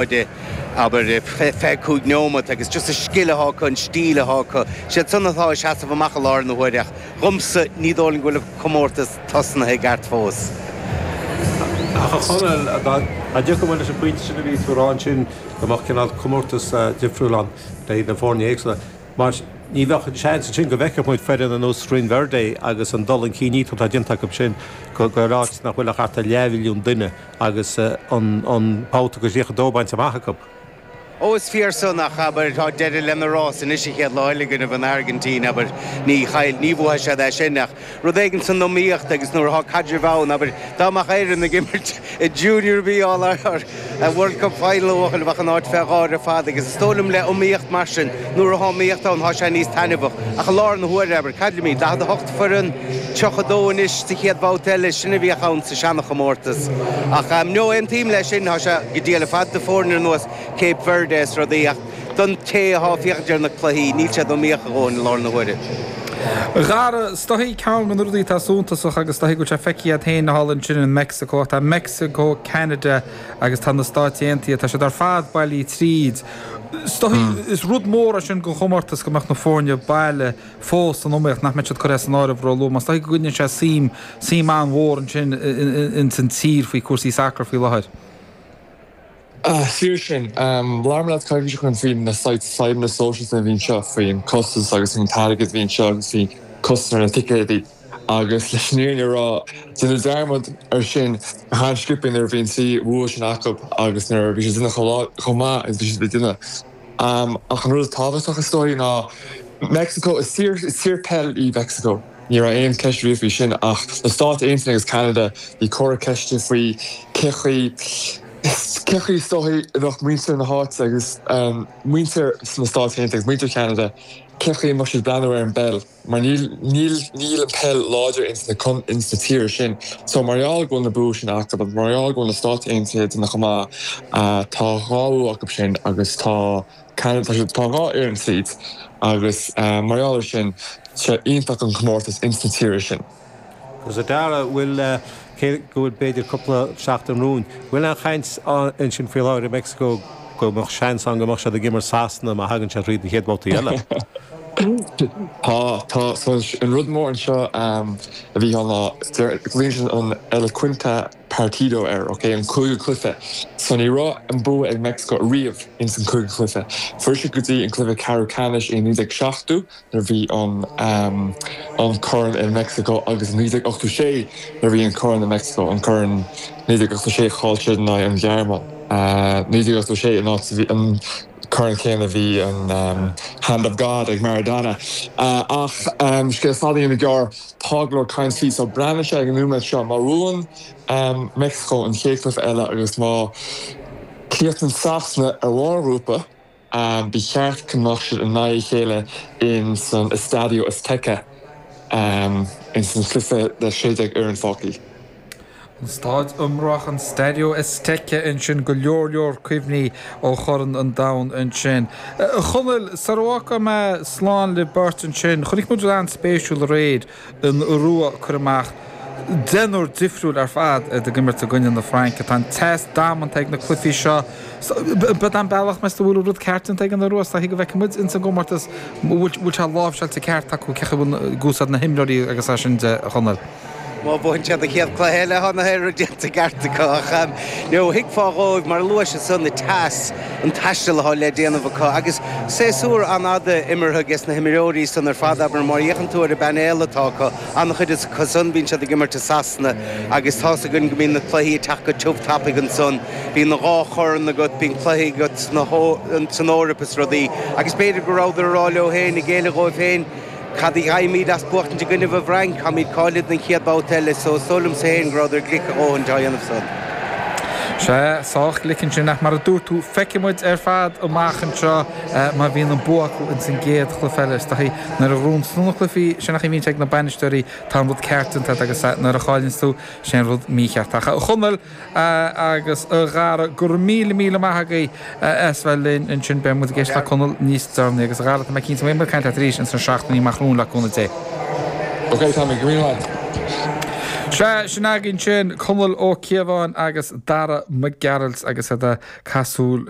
Abair, 25 neomat agus just an scil atá acu, an stíl atá acu, siad san atá ag seasamh amach i láthair na huaire ach dhomsa ní dóigh liom go bhfuil an comórtas tosnaithe i gceart fós. Ach a Chonaill, dá dtiocfadh muid leis an bpointe sin a bhí tú a rá ansin, go mbeadh cineál comórtas difriúil ann le na foirne éagsúla, mar ní bheadh an seans ansin go bhfeicfeadh muid foireann ar nós Rinn Verde agus an dul chun cinn iontach atá déanta acu sin go áit nach bhfuil ach thart ar leathmhilliún duine. agus an babhta go 32 bainte amach acu. Ó, is fíor san, ach abair, tá deireadh lena rás anois an chéad lá eile i gcoinnibh an Airgintín, abair, ní chaill, ní bhuafaidh siad é sin, ach rud éigin san iomaíocht agus nuair atá caidreamh ann, abair, dá mbeadh Éirinn ag imirt i Junior B All World Cup Final a bhuachaill, bheadh an áit fé gháir ar fad agus is dóigh liom le iomaíocht mar sin, nuair atá iomaíocht ann, tá sé níos taitneamhach. Ach i láthair na huaire, abair, cad táimid, 48 foireann, 32 anois sa chéad bhabhta eile, sin a bhíodh ann sa seana-chomórtas. Ach no, aontaím leis sin, tá sé go diail ar fad do foirne ar nós Cape Verde is rudaí ach don té atá ag féachaint ar na cluichí, níl siad iomaíoch a dhóthain i láthair na huaire. A Dhara, is dóichí ceann de na rudaí atá suntasach agus is dóichí go bhfuil sé feicthe agat féin thall ansin in Meicsiceo, tá Meicsiceo, Ceanada agus tá na Stáit Aontaithe, tá siad ar fad bailithe tríd. Is dóichí, is rud mór é sin don chomórtas go mbeadh na foirne baile fós san iomaíocht, nach mbeadh siad curtha as an áireamh róluath. Mar is dóichí go gcoinníonn sé suim, suim an-mhór ansin ins an tír faoi cúrsaí sacair faoi láthair. Is fíor sin. Labhair mé leat coicís ó shin faoi na saghas fadhbanna sóisialta a bhí anseo, faoin costas agus faoin t-airgead a bhí anseo agus faoi costas ar na ticéadaí. Agus leis an fhírinne a rá, déanadh dearmad ar sin go han-sciobtha nuair a bhí an trí bhua sin acu agus nuair a bhí siad ag déanamh chomh maith is a bhí siad ag déanamh. Ach an rud is tábhachtach is dóigh ná Meicsiceo, is tír, is tír peil í Meicsiceo, ní raibh aon cheist riamh faoi sin ach na Stáit Aontaithe agus Ceanada, bhí comhartha ceiste faoi cé chaoi, cé chaoi is dóigh a bheadh muintir na háite agus muintir sna Stáit Aontaithe agus muintir Cheanada, cé chaoi a mbeadh siad ag breathnú ar an bpeil. Mar níl, níl, níl an peil láidir ins na, ins na tíortha sin. So mar gheall go bhfuil na bua sin acu agus mar gheall go bhfuil na Stáit Aontaithe ag déanamh chomh maith, tá dhá bhua acu sin agus tá Ceanada, tá siad, tá dhá fhoireann tríd agus mar gheall ar sin, tá sé iontach an comórtas ins na tíortha sin. Agus a Dhara, bhfuil, cé go bhfuil b'fhéidir cúpla seachtain romhainn, bhfuil aon chaint ansin faoi láthair i Meicsiceo go mbeadh seans ann go mbeadh siad ag imirt Sasana má thagann siad thríd an chéad bhabhta eile? Tá, tá. So an rud mór anseo a bhí ann ná, glaonn siad an El Quinta Partido air, ok, an cúigiú cluiche. So ní raibh an bua ag Meicsiceo riamh ins an cúigiú cluiche. Fuair siad go dtí an cluiche ceathrú ceannais i 1970, nuair a bhí an an corn i Meicsiceo agus i 1986 nuair a bhí an corn i Meicsiceo, an corn 1986 chaill siad in aghaidh an Ghearmáin. 1986 an áit a bhí an corn céanna bhí an Hand of God ag Maradona. Ach scéal fada a dhéanamh gearr, tá go leor caint faoi so breathnaíonn sé ag an nóiméad seo má bhuann Meicsiceo an chéad chluiche eile agus má chríochnaíonn Sasana ar bharr an ghrúpa, Ba cheart go mbeadh siad in aghaidh a chéile in san Estadio Azteca in san chluiche le 16 fhoireann fágtha. An staid iomráiteach an Stadio Azteca ansin, go leor leor cuimhní ó Chorn an Domhain ansin. A Chonaill, sara bhfágfaidh mé slán libh beirt ansin, chonaic muid rud an-spéisiúil aréir, an Iorua ag cur amach deichniúr difriúil ar fad ag imirt i gcoinne na Fraince. Tá an teas damanta ag na cluichí seo. B'é an bealach, meas tú, bhfuil an rud ceart déanta ag an Iorua? Is dóichí go bhfeicfidh muid ins an gcomórtas bhfuil sé láimhseáilte ceart acu, cé chaoi bhfuil ag úsáid na himreoirí agus é sin de, a Chonaill. Má bhuann siad an chéad cluiche eile, tá an rud déanta ceart acu. Ach no, thuigfeá dhóibh, mar a luais ansan, an teas, an taisteal atá le déanamh acu agus séasúr an-fhada imeartha ages na himreoirí san ar fad, abair, má fhéachann tú ar an bpainéal atá acu, an-chuid acu san, bíonn siad ag imirt i Sasana agus tá's againn go mbíonn na cluichí ag teacht go tiubh tapaidh ansan, bíonn an dhá chorn agat, bíonn cluichí agat san Eoraip is rudaí agus b'fhéidir go rabhadar ag rá leo féin, ag géilleadh dhóibh féin, Cad a gheibhimid as buachtaint i gcoinnibh an bhFrainc? Táimid cáilithe don chéad babhta eile so is dóigh liomsa féin go rabhadar glic a dhóthain á dhéanamh san. Sea, sách glic ansin ach mar a dúirt tú, feicfidh muid ar fad amach anseo má bhíonn an bua acu ins an gcéad chluiche eile. Is dóichí nuair a ghnóthaíonn tú na cluichí, sin an chaoi a bhíonn sé ag na bainisteoirí, tá an rud ceart déanta agat agus nuair a chailleanns tú, sé an rud mícheart. Ach a Chonaill, agus a Dhara, go raibh míle míle maith agaibh as bheith linn ansin. Beidh muid ag éisteacht le Conall níos deireanaí agus a Dhara, tá mé cinnte go mbeidh muid ag caint leat arís ins na seachtainí amach romhainn le cúnamh Dé. Ok, Tommy, go raibh míle maith agat. Sea, sin againn sin, Conall Ó Cíobháin agus Dara Mac Gearailt agus iad ag casadh.